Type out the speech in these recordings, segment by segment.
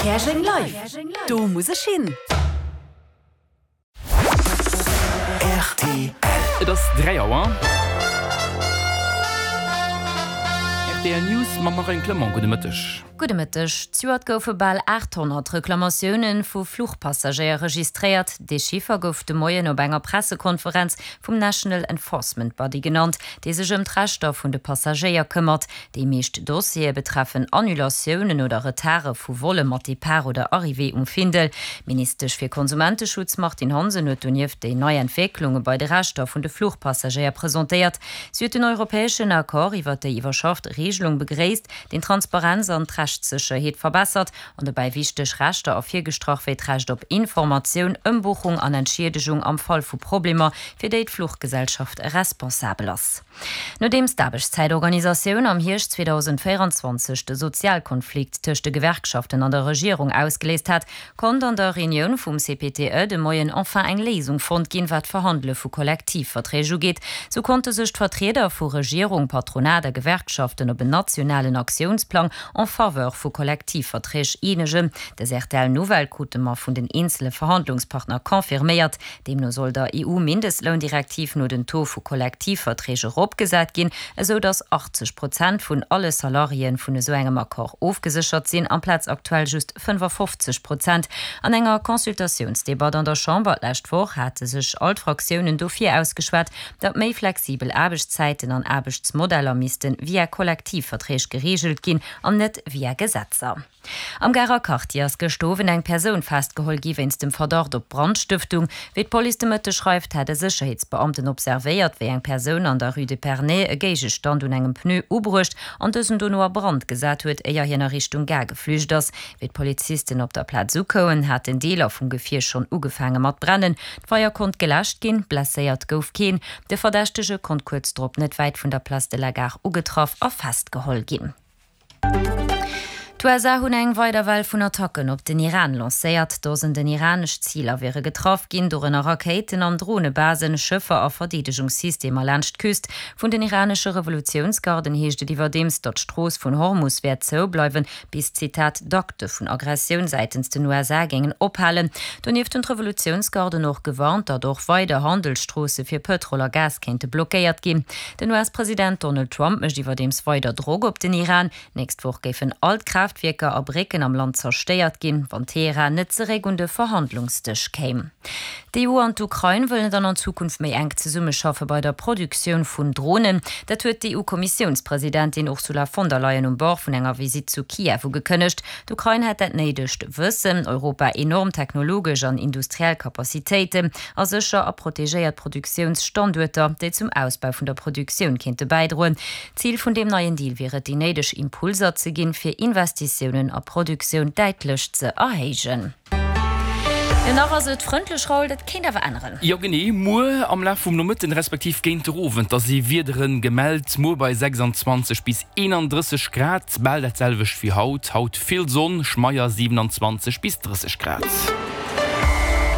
Käerjeng Live, do muss ech hin! Rtl. Et ass 3 Auer. Rtl News mam Marine Clement. Gudde Mëtteg. Gudde Mëtteg. Zejoert goufe bal 800 Reklamatioune vu Fluchpassagéier registréiert. Dee Chiffer gouf de Moien op enger Pressekonferenz vum National Enforcement Body genannt, dee sech ëm d'Rechter vun de Passagéier këmmert. Déi meescht Dossiere betreffen Annulatiounen oder Retarde vu Volle mat Depart oder Arrivée um Findel. D'Ministesch fir Konsumenteschutz Martine Hansen huet donieft déi nei Entwécklunge bei de Rechter vun de Fluchpassagéier presentéiert. Si huet den europäeschen Accord iwwer déi iwwerschafft Reegelung begréisst, deen d'Transparenz an d'Rechtssécherheet verbessert an dobäi wichteg Rechter ervirgestrach wéi d'Recht op Informatioun, Ëmbuchung an Entschiedegung am Fall vu Problemer, fir déi d'Fluchgesellschaft responsabel ass. Nodeems d'Aarbechtszäitorganisatioun am Hierscht 2024 de Sozialkonflikt tëscht de Gewerkschaften an der Regierung ausgeléist hat, konnt an der Reunioun vum CPTE de Moien enfin eng Léisung fonnt ginn, wat d'Verhandele vu Kollektivverträg ugeet. Sou konnte sech d'Vertrieder vu Regierung, Patronat a Gewerkschaften op en nationalen Aktiounsplang en faveur vu Kollektivverträg eenegen. Dës RTL-Nouvelle krute mer vun den eenzele Verhandlungspartner confirméiert. Deemno soll der EU-Mindestloundirektiv no den Taux vu Kollektivverträg eropgesat ginn, esou datt 80 Prozent vun alle Salariéen vun esou engem Accord ofgeséchert sinn, amplaz aktuell just 55 Prozent. An enger Consultatiounsdebatt an der Chamber d'lescht Woch hate sech all d'Fraktiounen dofir ausgeschwat, datt méi flexibel Aarbechtszäiten an Aarbechtsmodeller misste via Kollektivverträg gereegelt ginn an net via Gesetzer. Am Garer Quartier ass gëscht Owend eng Persoun festgeholl gi wéinst dem Verdacht op Brandstëftung. Wéi d'Police de Mëtteg schreift, hätt e Sécherheetsbeamten observéiert, wéi eng Persoun an der Rue d'Epernay e Géigestand un engem Pneu ubruecht an dësen dono a Brand gesat huet, éier hien a Richtung Gare geflücht ass. Wéi d'Polizisten op der Plaz ukoumen, haten Deeler vum Gefier schonn ugefaange mat brennen. D'Feier konnt geläscht ginn, blesséiert gouf keen. De Verdächtege konnt kuerz drop net wäit vun der Place de la Gare ugetraff a festgeholl ginn. D'USA hunn eng weider Well vun Attacken op den Iran lancéiert. Dosenden iranesch Ziler wiere getraff ginn, dorënner Rakéiten an Dronebasen, Schëffer a Verdeedegungssystemer laanscht d'Küst. Vun den iranesche Revolutiounsgarden heescht et iwwerdeems, datt d'Strooss vun Hormus wäert zoubleiwen, bis, Zitat, d'Akte vun Aggressioun säitens den USA géingen ophalen. Donieft hunn d'Revolutiounsgarden och gewarnt, datt och weider Handelsstroosse fir Pëtrol a Gas kéinte blockéiert ginn. Den US-President Donald Trump mécht iwwerdeems weider Drock op den Iran. D'nächst Woch géifen all d'Kraaftwierker a Brécken am Land zerstéiert ginn, wann Teheran net zeréck un de Verhandlungsdësch kéim. D'EU an d'Ukrain wëllen dann an Zukunft méi enk zesummeschaffe bei der Produktioun vun Dronen. Dat huet d'EU-Kommissiounspresidentin Ursula von der Leyen um Bord vun enger Visitt zu Kiew ugekënnegt. D'Ukrain hätt dat néidegt Wëssen, Europa enorm technologesch an industriell Capacitéiten a sécher a protegéiert Produktiounsstanduerter, déi zum Ausbau vun der Produktioun kéinte bäidroen. Zil vun deem neien Deal wier et, déi néideg Impulser ze ginn, fir Investitiounen a Produktioun däitlech ze erhéijen. Jo, nach ass et frëndlech, Raoul, dat kéint awer änneren. Jo genee, muer am Laf vum Nomëtten respektiv géint de Owend, da si Wiedere gemellt, muer bei 26 bis 31 Grad, bal dat selwecht wéi haut. Haut vill Sonn, schmeier 27 bis 30 Grad.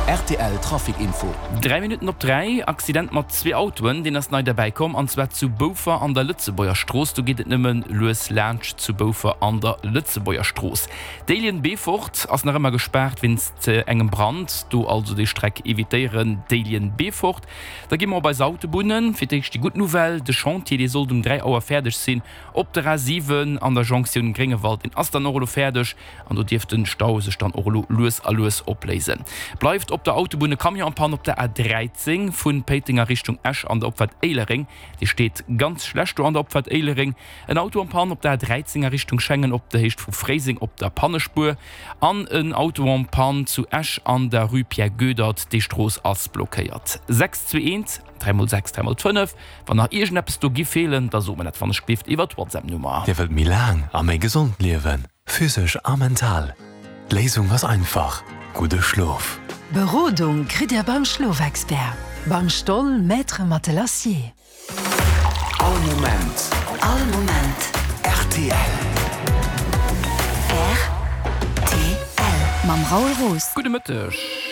Rtl Trafic Info. 3 Minutten op 3, Accident mat zwee Autoen, deen ass nei derbäi komm, an zwar zu Boufer an der Lëtzebuerger Strooss. Do geet et nëmme lues laanscht zu Boufer an der Lëtzebuerger Strooss. Déiljen-Beefort ass nach ëmmer gespaart wéinst engem Brand, do also déi Streck evitéieren, Déiljen-Beefort. Da gi mer op eis Autobunnen. Fir d'éischt déi gutt Nouvelle, de Chantier dee sollt um 3 Auer fäerdeg sinn op der A7 an der Jonktioun Gréngewald, deen ass dann och elo fäerdeg. An do dierft den Stau sech dann och elo lues a lues opléisen. Bleift op der Autobunn e Camion en panne op der A13 vun Péiteng a Richtung Esch an der Opfahrt Éilereng. Dee steet ganz schlecht do an der Opfahrt Éilereng. En Auto en panne op der A13 a Richtung Schengen op der Héicht vu Fréiseng op der Pannespuer. An en Auto en panne zu Esch an der Rue Pierre Goedert. Déi Strooss ass blockéiert. 6 2 1 3 mol 6 3 mol 5. Wann nach iergendeppes do giff feelen, da sot mer dat wann ech gelift iwwert d'Whatsapp-Nummer. Dir wëllt méi laang a méi gesond liewen? Physesch a mental? D'Léisung ass einfach, gudde Schlof! Berodung kritt Dir beim Schlofexpert, beim Stoll Maître Matelassier. All Moment. All Moment. Rtl. Rtl. Mam Raoul Roos. Gudde Mëtteg.